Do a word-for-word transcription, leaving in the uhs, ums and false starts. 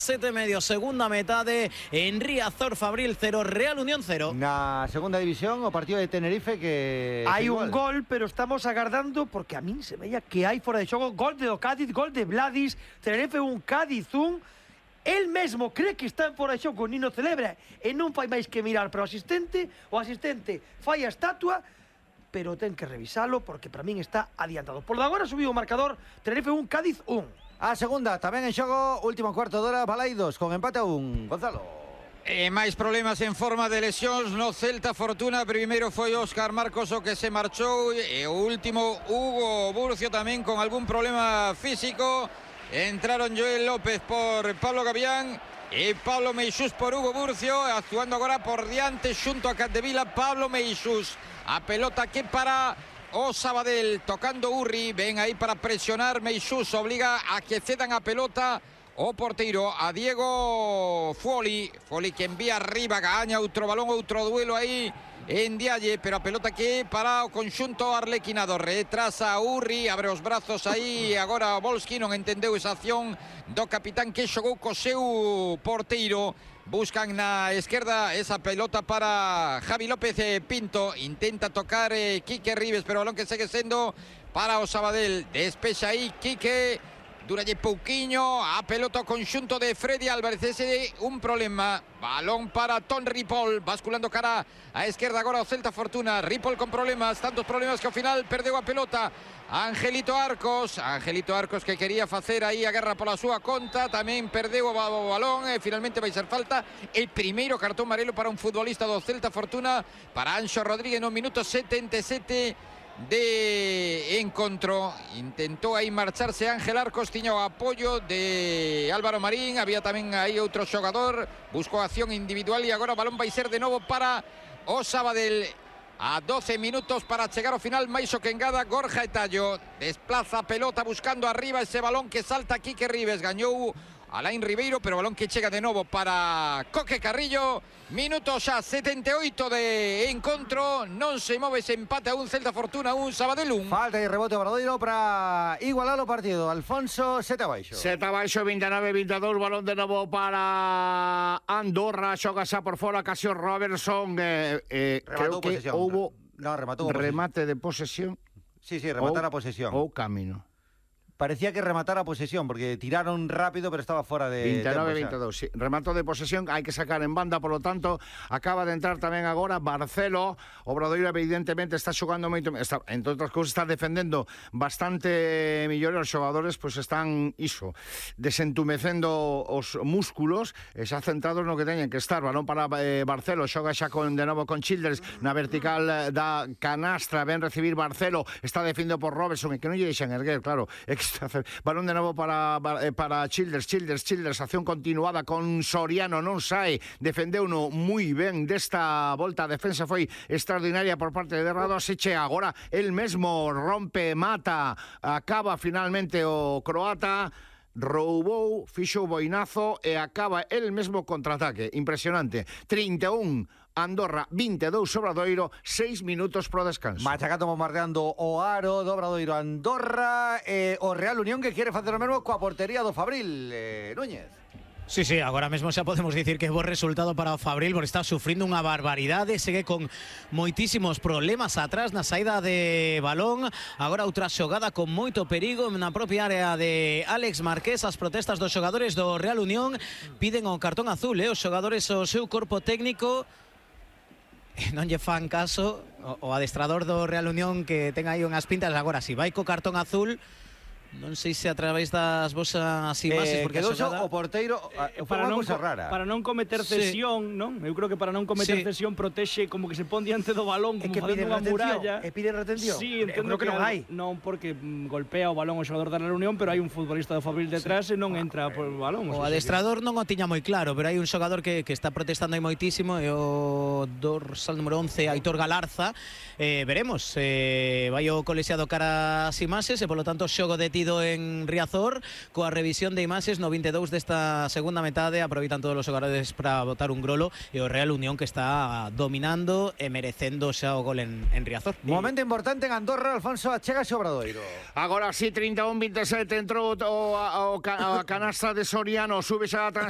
Sete medio, segunda metade en Riazor, Fabril cero, Real Unión cero. Na segunda división, o partido de Tenerife que... Hai un gol, pero estamos agardando, porque a min se veía que hai fora de xogo gol de do Cádiz, gol de Vladis, Tenerife un, Cádiz un. El mesmo cree que está en fora de xogo, Nino celebra e non fai máis que mirar para o asistente, o asistente fai a estatua, pero ten que revisalo porque para min está adiantado. Por de agora subiu o marcador, Tenerife un, Cádiz un. A segunda, tamén en xogo, último cuarto de hora, Balaidos, con empate a un. Gonzalo. E máis problemas en forma de lesións no Celta Fortuna. Primeiro foi Óscar Marcos o que se marchou, e o último Hugo Burcio tamén con algún problema físico. Entraron Joel López por Pablo Gavián e Pablo Meixús por Hugo Burcio, actuando agora por diante xunto a Capdevila. Pablo Meixús, a pelota que para o Sabadell, tocando Urri, ven aí para presionar Meixús, obliga a que cedan a pelota o porteiro a Diego Foli, Foli que envía arriba, gaña outro balón, outro duelo aí en Dialle, pero a pelota que para o conxunto arlequinado, retrasa Urri, abre os brazos aí, agora Volsky non entendeu esa acción do capitán que xogou co seu porteiro. Buscan na esquerda esa pelota para Javi López eh, Pinto. Intenta tocar eh, Quique Rives, pero o balón que segue sendo para o Sabadell. Despexa aí Quique, duralle pouquiño, a pelota ao conxunto de Freddy Álvarez. Ese un problema. Balón para Ton Ripoll, basculando cara a esquerda agora o Celta Fortuna. Ripoll con problemas, tantos problemas que ao final perdeu a pelota Angelito Arcos, Angelito Arcos que quería facer aí a guerra pola súa conta, tamén perdeu o balón e finalmente vai ser falta. El primeiro cartón amarelo para un futbolista do Celta Fortuna, para Anxo Rodríguez no minuto setenta e sete de encontro. Intentou aí marcharse Ángel Arcos, tiña o apoio de Álvaro Marín, había tamén aí outro xogador, buscou acción individual e agora o balón vai ser de novo para o Sabadell. A doce minutos para chegar ao final, máis o que engada Gorja Etallo. Desplaza a pelota buscando arriba ese balón que salta Quique Rives. Gañou Alain Ribeiro, pero balón que chega de novo para Coque Carrillo. Minutos xa setenta e oito de encontro. Non se move ese empate a un, Celta Fortuna un, Sabadell un. Falta e rebote Obradoiro para igualar o partido. Alfonso, sete abaixo. Sete abaixo, vinte e nove vinte e dous. Balón de novo para Andorra. Xoga xa por fora, Casio Robertson. Eh, eh, creo que posesión. houbo no, rematou remate de posesión. Sí, sí, rematar a posesión. Ou camino. Parecía que rematara a posesión, porque tiraron rápido, pero estaba fuera de vinte e nove vinte e dous, sí. Remato de posesión, hai que sacar en banda, por lo tanto, acaba de entrar tamén agora Barcelo. Obradoiro evidentemente está xogando moito, está, entre outras cousas, está defendendo bastante mellor. Os xogadores pois pues, están iso, desentumecendo os músculos, e xa centrados no que teñen que estar. Balón para eh, Barcelo, xoga xa con, de novo con Childers na vertical da canastra, ven recibir Barcelo, está defendido por Robertson, e que non lle deixan erguer, claro, é que balón de novo para, para Childers, Childers, Childers, acción continuada con Soriano, non sae, defendeu no moi ben desta volta, a defensa foi extraordinaria por parte de Radosic, agora el mesmo rompe, mata, acaba finalmente o croata, roubou, fixo o boinazo e acaba el mesmo contraataque, impresionante. trinta e un Andorra, vinte e dous Obradoiro, seis minutos pro descanso. Machacando, bombardeando o aro do Obradoiro Andorra, eh, o Real Unión que quere facer o mesmo coa portería do Fabril, eh, Núñez. Sí, sí, agora mesmo xa podemos dicir que é bo resultado para o Fabril, porque está sufrindo unha barbaridade, segue con moitísimos problemas atrás na saída de balón. Agora outra xogada con moito perigo na propia área de Alex Marqués. As protestas dos xogadores do Real Unión piden o cartón azul, eh? Os xogadores o seu corpo técnico non lle fan caso. O, o adestrador do Real Unión que ten aí unhas pintas. Agora, si vai co cartón azul, non sei se a través das vosas imaxes, eh, porque quedou a xogada... o porteiro eh, para non rara. Para non cometer cesión, sí. Non? Eu creo que para non cometer sí. cesión protexe como que se pon diante do balón, como facendo unha muralla. E pide retención? Sí, entendo que, que non hai. Non, porque mm, golpea o balón o xogador da Real Unión, pero hai un futbolista do Fabril detrás sí. e non entra por o balón. O, o adestrador non o tiña moi claro, pero hai un xogador que, que está protestando aí moitísimo, e o dorsal número once, Aitor Galarza. Eh, veremos, eh, vai o colexiado cara as imaxes, e polo tanto xogo de tiro collido en Riazor, coa revisión de imaxes no vinte e dous desta segunda metade, aproveitan todos os xogadores para botar un grolo e o Real Unión que está dominando e merecendo xa o gol en, en Riazor. Momento importante en Andorra, Alfonso, achega ese Obradoiro. Agora sí, treinta e un veintisiete entrou o, o, o, a canasta de Soriano, sube xa a transición.